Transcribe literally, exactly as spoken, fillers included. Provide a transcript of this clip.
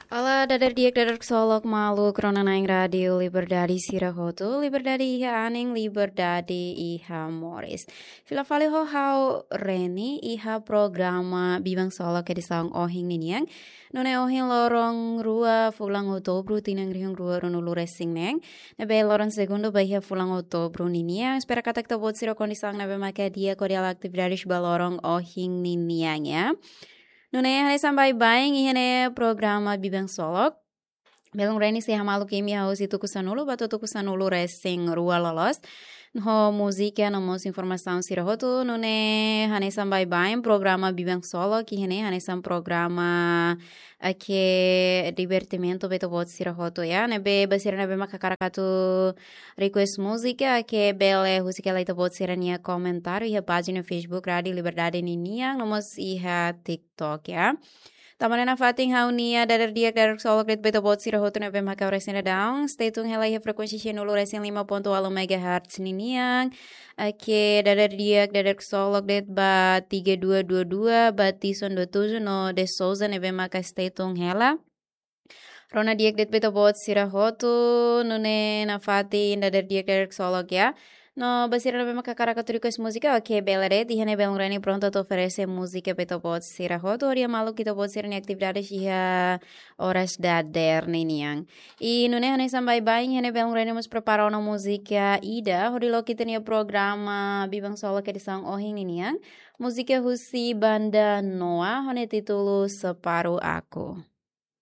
Olá, dader di'ak, dader ksolok maluk rona-na'in Rádiu Liberdade sira hotu, liberdade iha anin, liberdade iha moris. Fila fali ho ha'u Reni iha programa Biban Ksolok edisaun ohin ninian. Nune'e ohin loron rua fulan Outubru tinan rihun rua ruanulu resin neen. Ne'ebé loron segundu ba iha fulan Outubru ninian. Espera katak ita-boot sira kondisaun ne'ebé maka di'ak hodi halo atividades ba loron ohin ninian ya. Nune'e hanesan baibain iha ne'e programa Biban Ksolok. Belun Reni sei hamaluk imi iha husi tuku sanulu ba to'o tuku sanulu resin rua loloos. Ho múzika no mós informasaun sira hotu, nune'e hanesan baibain programa Biban Ksolok iha ne'e hanesan programa, eh, ke divertimentu ba ita-boot sira hotu ya. Ne'ebé ba sira ne'ebé maka hakarak atu request múzika, ke bele husik hela ita-boot sira-nia komentáriu iha pájina Facebook Rádiu Liberdade ninian, no mós iha TikTok ya. Tanba ne'e nafatin ha'u-nia dader di'ak, dader ksolok de'it ba ita-boot sira hotu ne'ebé maka oras ne'e daudaun. Stay tune hela iha frekuénsia sianulu resin lima ponto ualu megahertz ninian. Oke, dader di'ak, dader ksolok de'it ba tiga dua dua dua, ba Tison dua tujuh no De Souza ne'ebé maka stay tune hela. Rona di'ak de'it ba ita-boot sira hotu, nune'e nafatin dader di'ak, dader ksolok ya. No ba sira ne'ebé maka hakarak atu request múzika, oke, bele de'it, iha ne'e Belun Reni prontu atu oferese múzika ba ita-boot sira hotu, hodi hamaluk ita-boot sira-nia atividades iha oras dader ninian. I nune'e hanesan baibain, iha ne'e Belun Reni mós prepara ona múzika ida hodi loke ita-nia programa Biban Ksolok edisaun ohin ninian. Múzika husi banda Noah, ho nia títulu Separuh Aku.